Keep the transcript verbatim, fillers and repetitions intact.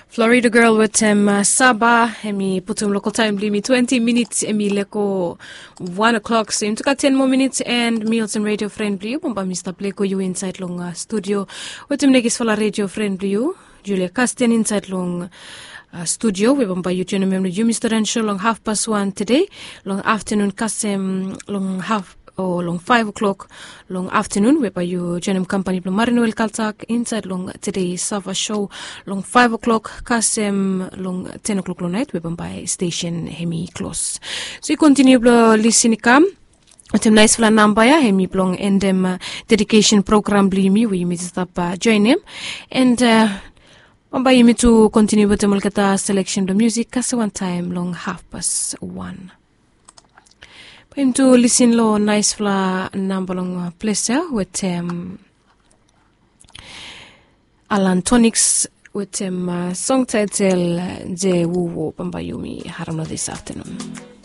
Florida girl wetem saba, em i putum lokal taem blong yumi twenti minits em i lego wan o'klok, so yumi tu gat ten moa minits and mi olsem redio fren blong yu bambae mi stap lego yu insaed long studio wetem nekisfala redio fren blong yu, Julia Kasten, insaed long studio we bambae yu joenem em long yumi studen sho long hafpas wan tede, long aftenun kasem long haf o long faef o'klok long aftenun we bae yu joenem kampani blong Marinwel Kaltak insaed long tede sava sho long faef o'klok kasem long ten o'klok long naet we bambae stesen hem i klos. So yu kontiniu blong lisin i kam wetem naesfala namba ya, hem i blong endem dedikesen program blong yumi we yumi stap joenem. And bambae yumi tu kontiniu wetem olgeta seleksen blong musik kasem wantaem long hafpas wan. Bae yumi tu lisin long naesfala namba long ples ya wetem Alan Toniks wetem song taetel Jewowo. Bambae yumi harem long dis aftenun.